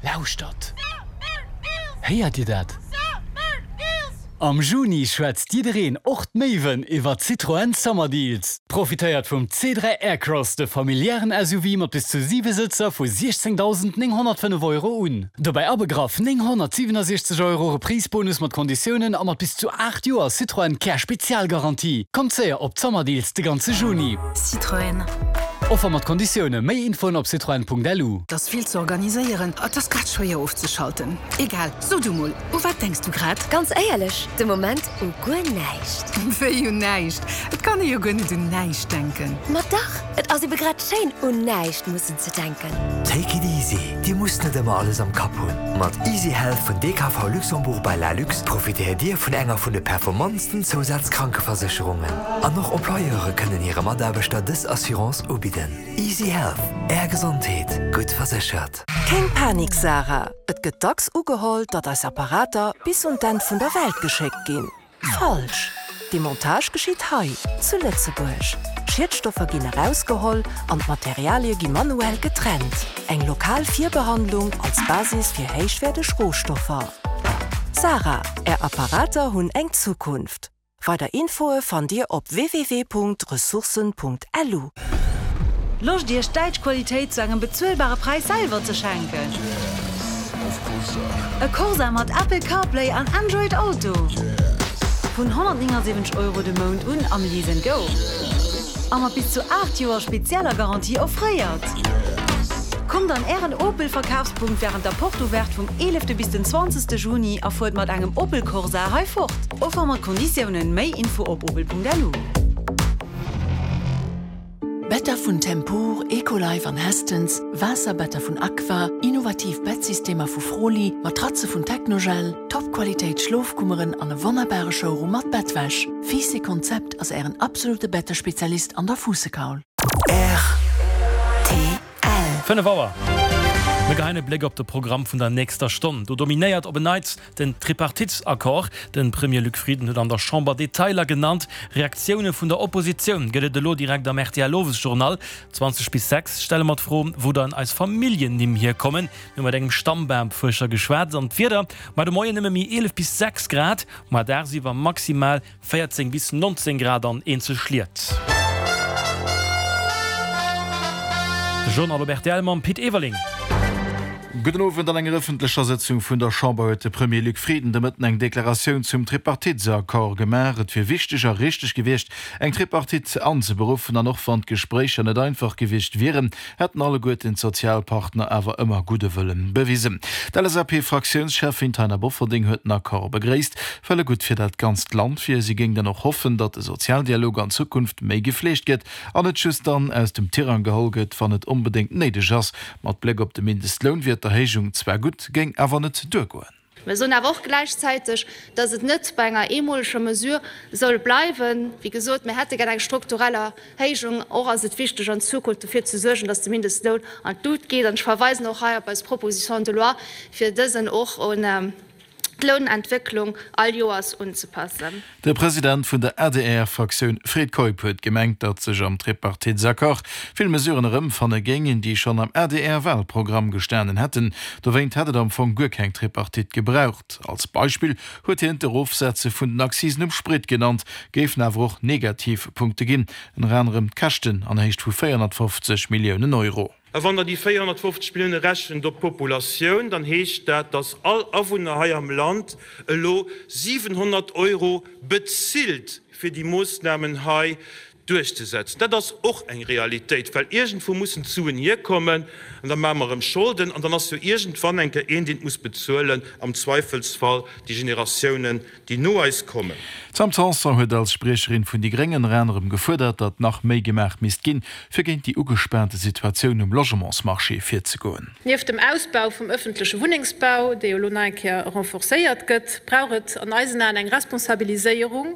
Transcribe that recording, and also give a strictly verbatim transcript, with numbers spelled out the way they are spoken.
Lauschtert! Héiert Dir dat? Am Juni schwätzt jiddereen, och d'Méiwen, iwwer Citroën Summer Deals. Profitéiert vum C dräi Aircross, de familiären S U V mat bis zu siwe Sëtzer vu siechzéngdausendnénghonnertfënnef Euro un. Dobäi abegraff nénghonnertsiwenasechzeg Euro Reprise-Bonus mat Konditiounen a mat bis zu aacht Joer Citroën Care Spezialgarantie. Kommt séier op d'Summer Deals de ganze Juni. Citroën. Offer mat Konditioune, méi Infoen op citroen.lu. 't ass vill ze organiséieren, et ass grad schwéier ofzeschalten. Egal, so du mol, u wat denks du grad? Ganz éierlech, de Moment u guer näischt. Wéi un näischt? Et kann ee jo guer net un näischt denken. Ma dach, et ass ebe grad schéin, un näischt mussen ze denken. Take it easy, Dir musst net ëmmer alles am Kapp hunn. Mat Easy Health vun D K V Luxembourg by Lalux profitéiert Dir vun enger vun de performantsten Zousazkrankeversécherungen. An och Employeure kënnen hire Mataarbechter dës Assurance ubidden. Easy Health, Är Gesondheet, gutt verséchert. Keng Panik, Sarah. Et gëtt dacks ugeholl, datt eis Apparater bis un d'Enn vun der Welt geschéckt ginn. Falsch. Demontage geschitt hei, zu Lëtzebuerg. Schiedstoffer ginn erausgeholl an d'Materialie gi manuell getrennt. Eng lokal Virbehandlung als Basis fir héichwäerteg Rohstoffer. Sarah, Är Apparater hunn eng Zukunft. Weider Infoe fannt Dir op w w w Punkt ressourcen Punkt l u. Loscht Iech däitsch Qualitéit zu engem bezuelbare Präis selwer ze schenken? E Corsa mat Apple CarPlay an Android Auto. Vun honnertnéngasiwwenzeg Euro de Mount un am Lease and Go. A mat bis zu aacht Joer spezieller Garantie offréiert. Kommt an ären Opel Verkafspunkt wärend der Porte Ouverte vum eelefte bis den zwanzegste Juni a fuert mat engem Opel Corsa hei fort. Offer mat Konditiounen, méi Info op opel Punkt L U. Better vun Tempur, Ecolife an Hästens, Waasserbetter vun Aqua, innovativ Bettsystemer vu Froli, Matratze vun Technogel, Topqualitéit Schlofkummeren an e wonnerbare Showroom mat Bettwäsch. Fiiss Konzept ass ären absolute Bettespezialist an der Fuussekaul. R T L. Fënnef Auer. Mir geheien e Bléck op de Programm vun der nächster Stonn. Do dominéiert op en Neits den Tripartitesaccord. De Premier Luc Frieden huet an der Chamber Detailer genannt. Reaktioune vun der Oppositioun gëtt et elo direkt am R T L Owesjournal. zwanzeg bis sechs stelle mer d'Fro, wou dann eis Familljennimm hierkommen. Mir hu mat engem Stammbamfuerscher geschwat. An d'Wieder, Mar de Moien nëmme méi eelef bis sechs Grad, ma dagsiwwer maximal véierzéng bis nonzéng Grad an eenzel Schliet. De Journal op R T L mam Pit Everling. Gudden Owend. An enger ëffentlecher Sëtzung vun der Chamber huet de Premier Luc Frieden de Mëtten eng Deklaratioun zum Tripartitesaccord gemaach. Et wier wichteg a richteg gewiescht, eng Tripartite anzeberuffen, an och wann d'Gespréicher net einfach gewiescht wieren, hätten alleguerten d'Sozialpartner awer ëmmer gudde Wëllen bewisen. D'L S A P-Fraktiounscheffin Taina Bofferding huet den Accord begréisst, well e gutt fir dat ganzt Land wier. Si géing dann och hoffen, datt de Sozialdialog an Zukunft méi gefleegt gëtt an net just dann aus dem Tirang geholl gëtt, wann et onbedéngt néideg ass. Mat Bléck op de Mindestloun wier d'Erhéijung zwar gutt, géing awer net duergoen. Mir soen awer och gläichzäiteg, dass et net bei enger eemoleger Mesure soll bleiwen. Wéi gesot, mir hätte gär eng strukturell Erhéijung. Och ass et wichteg an Zukunft dofir ze suergen, dass de Mindestloun an d'Lut geet. An ech verweisen och hei op eis Proposition de loi, fir dësen och un d'Lounentwécklung all Joers unzepassen. De President vun der A D R-Fraktioun Fred Keup huet gemengt, datt sech am Tripartitesaccord vill Mesuren erëmfanne géingen, déi schonn am A D R-Walprogramm gestanen hätten. Dowéint hätt et am Fong guer keng Tripartite gebraucht. Als Beispill huet hien d'Erofsetze vun den Accisen um Sprit genannt, géifen awer och Negativpunkte ginn, ënner anerem d'Käschten an Héicht vu véierhonnertfofzeg Milliounen Euro. A wann der déi véierhonnertfofzeg Millioune rechent op d'Populatioun, dann heescht dat, datt all Awunner hei am Land elo siwenhonnert Euro bezilt, fir déi Moossnamen hei duerchzesetzen. Dat ass och eng Realitéit, well iergendwou mussen d'Suen hierkommen an da maache mer erëm Scholden an dann ass jo iergendwann eng Kéier een, deen et muss bezuelen, am Zweifelsfall déi Generatiounen, déi no eis kommen. D'Sam Tanson huet als Spriecherin vun déi Gréng ënner anerem gefuerdert, datt nach méi gemaach misst ginn, fir géint déi ugespaante Situatioun um Logementsmarché virzegoen. Nieft dem Ausbau vum ëffentleche Wunnengsbau, dee jo elo nach eng Kéier renforcéiert gëtt, brauch et an eisen Aen eng Responsabiliséierung